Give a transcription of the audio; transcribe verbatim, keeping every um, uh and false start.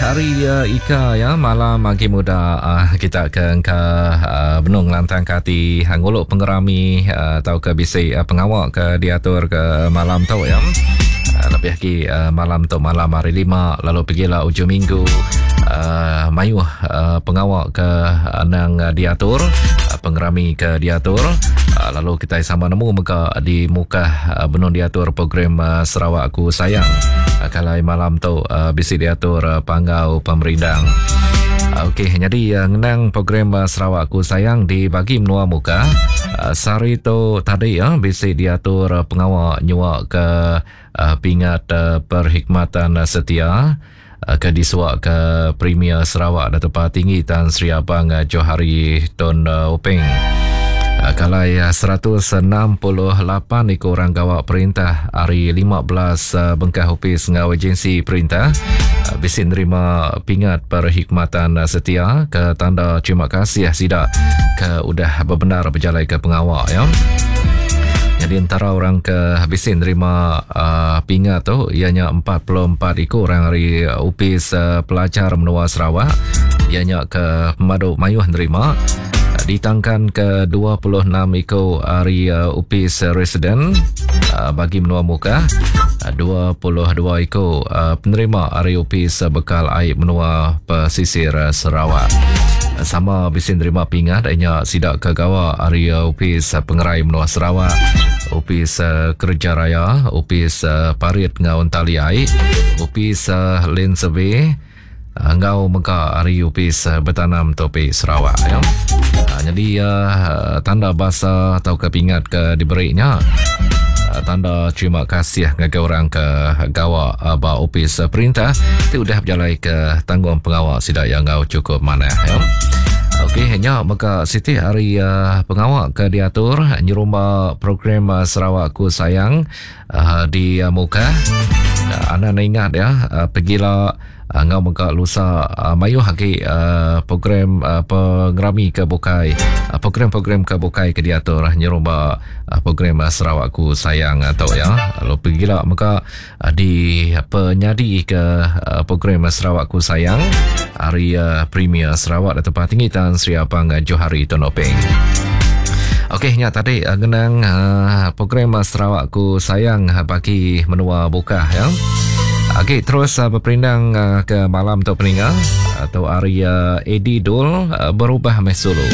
hari uh, Ika ya malam agi muda uh, kita ke engka uh, benung lantang ke ati nguluk pengerami uh, atau ke bisi uh, pengawa ke diatur ke malam tu ya. Uh, lebih lagi uh, malam tu malam hari lima lalu pergilah ujung minggu uh, mayuh uh, pengawa ke anang uh, diatur uh, pengerami ke diatur uh, lalu kita sama nemu mega di Mukah uh, benung diatur program uh, Sarawak Aku Sayang uh, kalau malam tu uh, bisi diatur uh, panggau pemerindang. Uh, Okey, jadi uh, ngenang program uh, Sarawak Aku Sayang di bagi menua Mukah uh, sehari tu tadi ya uh, bisi diatur uh, pengawa nyuak ke uh, pingat uh, perkhidmatan uh, setia uh, ke disuak ke Premier Sarawak Datuk Patinggi Tan Sri Abang uh, Johari Tun uh, Openg. Uh, kalai uh, seratus enam puluh lapan ekor orang gawak perintah hari lima belas uh, bengkah ofis ngau agensi perintah uh, bisi nerima pingat perkhidmatan uh, setia ke tanda terima kasih sidak ke udah berbenar berjalan ke pengawak ya. Jadi antara orang ke bisi nerima uh, pingat tu ianya empat puluh empat ekor orang dari Upis uh, Pelajar Menua Sarawak ianya ke Pemadu Mayuh nerima ditangkan ke dua puluh enam ekor hari uh, Upis Residen uh, bagi Menua Mukah uh, dua puluh dua ekor uh, penerima hari Upis Bekal Air Menua Pesisir uh, Sarawak. Sama bisi nerima pingat ianya sidak ke gawa hari Upis Pengerai Menua Sarawak, Upis Kerja Raya, Upis Parit ngau Entali Air, Upis Land Survey ngau mega hari Upis Bertanam Topi Sarawak ya. Ha, jadi uh, tanda bahasa atau ke pingat ke diberinya uh, tanda terima kasih ngagai orang ke gawa uh, ba Upis Perintah ti udah berjalai ke tanggung pengawal sidak yang ngau cukup manah ya. Okey, hanya maka siti hari uh, pengawal ke diatur nyerumba program uh, Sarawak Aku Sayang uh, di uh, Mukah. Uh, anda ingat ya, uh, pergilah uh, ngau mega lusa uh, mayuh lagi uh, program uh, pengerami ke bukai uh, program-program ke bukai ke diatur uh, nyerumba uh, program uh, Sarawak Aku Sayang atau uh, ya. Lalu pergilah mega uh, di penyadi ke uh, program uh, Sarawak Aku Sayang hari uh, Premier Sarawak Datuk Patinggi Tan Sri Abang uh, Johari Tun Openg. Okey, nya tadi uh, ngenang uh, program uh, Sarawak Aku Sayang uh, bagi menua Bukah ya. Okey, terus uh, berperindang uh, ke malam tu peninga atau area Eddie Dul uh, berubah mesulu.